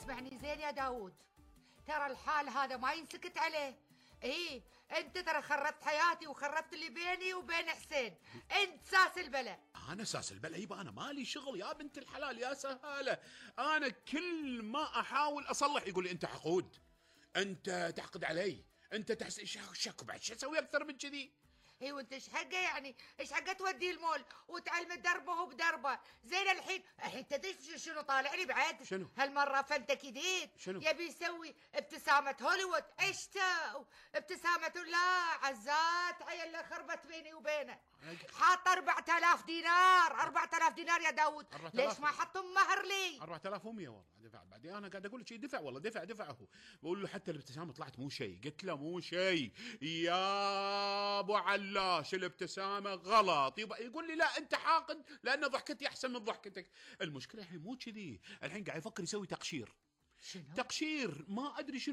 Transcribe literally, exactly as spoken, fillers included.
اسمعني زين يا داود، ترى الحال هذا ما ينسكت عليه. ايه انت ترى خربت حياتي وخربت اللي بيني وبين حسين. انت ساس البلا. انا ساس البلا؟ يبقى انا مالي شغل يا بنت الحلال يا سهاله. انا كل ما احاول اصلح يقول لي انت حقود، انت تحقد علي، انت تحس شك. بعد شو اسوي اكثر من كذي؟ اي وانت ايش حقه يعني؟ ايش حقه توديه المول وتعلم دربه بدربه؟ زين الحين الحين تدري شنو طالع لي بعد؟ شنو هالمره فنتك جديد. شنو؟ يبي يسوي ابتسامه هوليوود. عشته ابتسامه لا عزات عيل خربت بيني وبينه. حاط أربعة آلاف دينار. أربعة آلاف دينار يا داود. ليش ما حطهم مهر لي؟ أربعة آلاف ومية والله دفع. بعدين انا قاعد اقول لك شيء دفع والله دفع دفعه. بقول له حتى الابتسامه طلعت مو شيء. قلت له مو شيء يا ابو علاش، الابتسامه غلط. يبقى يقول لي لا انت حاقد لان ضحكتي احسن من ضحكتك. المشكله الحين مو كذي، الحين قاعد يفكر يسوي تقشير. شنو؟ تقشير ما ادري شنو.